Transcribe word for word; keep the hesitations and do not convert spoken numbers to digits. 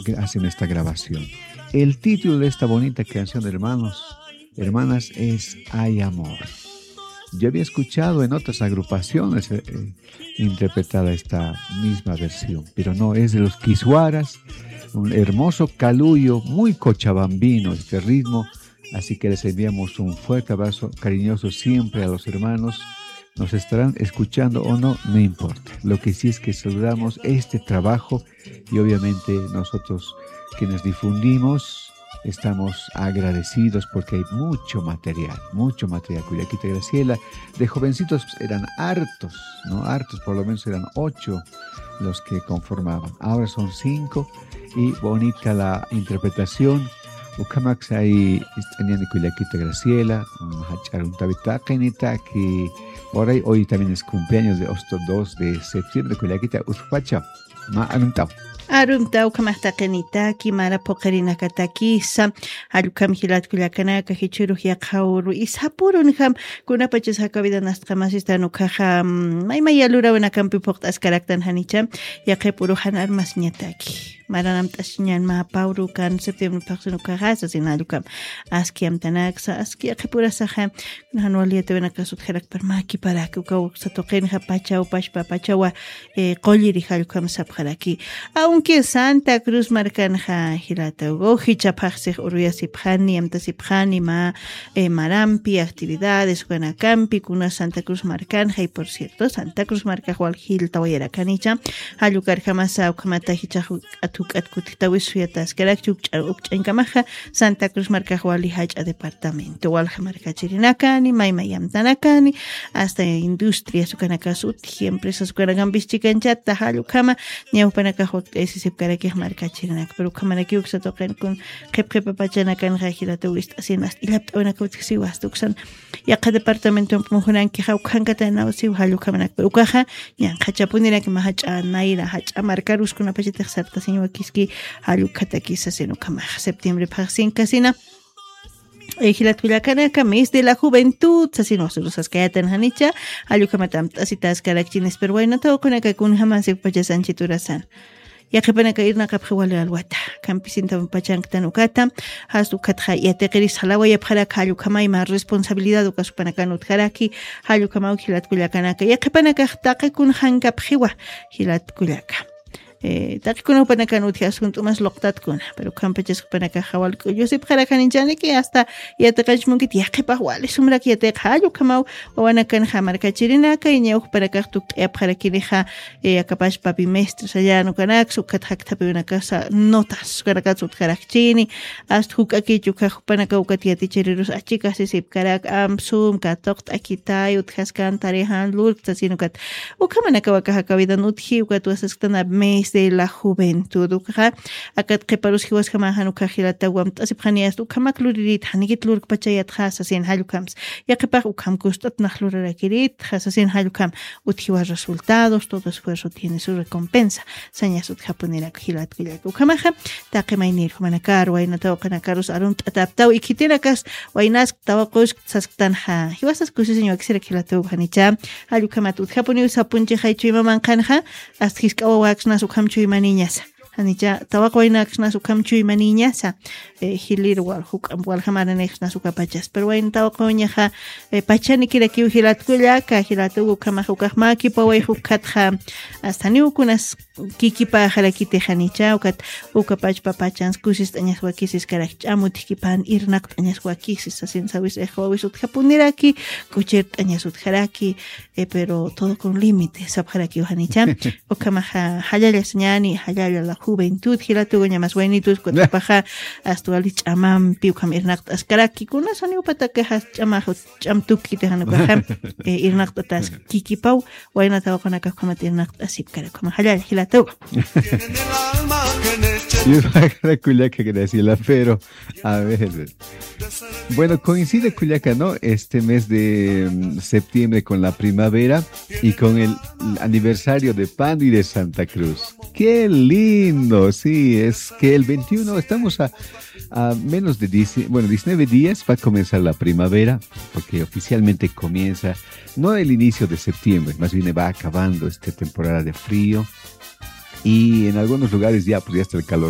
que hacen esta grabación. El título de esta bonita canción, hermanos, hermanas, es Hay Amor. Yo había escuchado en otras agrupaciones, eh, eh, interpretada esta misma versión, pero no, es de los Kiswaras, un hermoso caluyo, muy cochabambino este ritmo, así que les enviamos un fuerte abrazo cariñoso siempre a los hermanos. Nos estarán escuchando o no, no importa. Lo que sí es que saludamos este trabajo y obviamente nosotros quienes difundimos estamos agradecidos porque hay mucho material, mucho material. Kullakita Graciela, de jovencitos eran hartos, ¿no? Hartos, por lo menos eran ocho los que conformaban. Ahora son cinco y bonita la interpretación. Ukhamaksa ist'añäni kullakita Graciela, mm, jach'a aruntawit taqinitaki. Por ahí hoy también es cumpleaños de Osto, dos de septiembre, kullakita, uspacha. Mä arumt'aw. Arumt'aw ukhamax taqinitaki, mara phuqhirinakatakisa, jall ukham jilat kullakanaka, jichhürux yaqha uru, isapurunjam, kunapachas jakawidan ast'amasistan ukhaxa, mm, maymaya lurawinakampi phuqt'askaraktan janicha, yaqhip uru jan armasiñataki. Maran amt'asiñän mä pä uru kan septiembre phaxsin ukhaxa, sasin jall ukham. Aski amtanaksa, aski yaqhip urasaxa, jan wali yatiyäwinakas utjarakpar mäkiparaki, ukaw uksa tuqinxa pachaw pachpa pachawa, eh, qulliri jall ukham sapxaraki. Aunque Santa Cruz markanxa jilata ukaw jichha phaxsix uruyasipxani, amtasipxani mä, eh, marampi, actividades, ukanakampi, kuna Santa Cruz markanxa, y por cierto, Santa Cruz markax wal jilltawayarakanicha, jall ukarjamasa ukhamata jichhax juk'at juk'at kutjitawi suyataskarakchi, ukch'a-, ukch'añkamaxa, Santa Cruz markax wali jach'a departamento, walja markachirinakani, maymaya amtanakani, hasta industrias ukanakas utji, empresas ukanakampis chikanchata, jall ukhama, ñawpanakax wakt'ayasisipkarakix markachirinak, pero ukhamanaki uksa tuqin kun qhip qhipa pachanakanxa jilata wist'asin, hasta illapt'awinaka utjisiwa, hasta uksan yaqha departamentompi mujunankix ukhankataynaw siw jall ukhamanakpir. Ukaxa, ñanqhachapunirak mä jach'a nayra, jach'a markarus kunapachatix sartasiñ wakiski jall ukhatakis sasin ukhamax. Septiembre phaxsinkasina, eh, jilat kullakanaka, mes de la juventud, sasin wasirus saskayätan janicha, jall ukhamat amt'asitaskarakchinis, pero wayna tawaqunaka kunjamas ukpachas anchit urasan. Yaqhipanaka irnaqapxi wali alwata. Kampisinta pachanktan ukata, jas ukatxa yatiqiris jalawayapxaraki jall ukhama, mä responsabilidad ukas jupanakan utjaraki, jall ukhamaw jilat kullakanaka. Yaqhipanakax taqi kunjankapxiwa jilat kullaka. Eh, taqi kuna jupanakan utji asunt'umas luqtatkuna, pero ukhampachas jupanakaxa wal k'ullusipxarakaninchaniki, hasta yatiqanch munkit yaqhipax wali sumrak yatiqa, jall ukhamaw wawanakanxa markachirinaka, iñaw jupanakax tukt'ayapxarakinixa, eh, akapachpa bimestre sayan ukanaksa, ukat jakthapïwinakasa notas ukanakats utjarakchini, hasta juk'akich ukxa jupanaka ukat yatichirirus achikasisipkarak, amsum, katuqt'akitay, utjaskan tarijan lurk sasin ukat. Ukhamanakaw aka jakawidan utji, ukat wasasktan mes de la juventud, ukxa, akat qhiparus jiwasjamaxan ukxa jilataw amt'asipxani, hasta ukhamak luririt, janikit lurkpachayätxa sasin jall ukhams. Yaqhipax ukham kust'at nax lurarakiritxa sasin jall ukham. Utjiwa resultados, todo esfuerzo tiene su recompensa. Sañas utjapunirak jilat kullaka. Ukhamaxa, taqi maynir jumanakar, wayna tawaqanakarus arunt'atäptaw, ikhitinakas, waynask, tawaqusk sasktanxa. Jiwasas kusisiñ wakisirak jilata uka janicha. Jall ukhamat utjapuniw sapunchixay chuyma manqhanxa, hasta jisk'a wawaksnas ukham chuymaniñasa. Janicha, tawaq waynaksnas ukham chuymaniñasa, eh, jilir wal, juk'amp waljamaranïxsnas ukapachas. Pero wayna tawaq uñaxa, eh, pachanikirakiw jilat kullaka, jilat uka ukhamax ukax mäkipaway jukatxa, hasta niw kunas kikipäxarakiti janicha, ukat ukapachpa pachans kusist'añas wakisiskarak, ch'am utjkipan irnaqt'añas wakisi sasin sawis ixwawis utjapuniraki, k'uchirt'añas utjaraki, eh, pero todo con límite, sapxarakiw janicha. Ukhamaxa, jallalla sañäni, jallalla la juventud, jilata uka uñamas waynitus, kutipaxa, hasta wali ch'amampi, ukham irnaqt'askaraki, kunas janiwpatakaxa ch'amax, ch'am tukkiti jan ukaxa, eh, irnaqt'atas kikipaw, wayna tawaqunakax ukhamat irnaqt'asipkarak, ukhama jallalla, jilata uka. Yuraqara kullaka Graciela, pero, a ver, bueno, coincide, kullaka, ¿no? Este mes de, mm, septiembre con la primavera y con el aniversario de Pando y de Santa Cruz. ¡Qué lindo! Sí, es que el veintiuno estamos a, a menos de diez, bueno, diecinueve días va a comenzar la primavera, porque oficialmente comienza, no el inicio de septiembre, más bien va acabando esta temporada de frío. Y en algunos lugares ya podría estar el calor.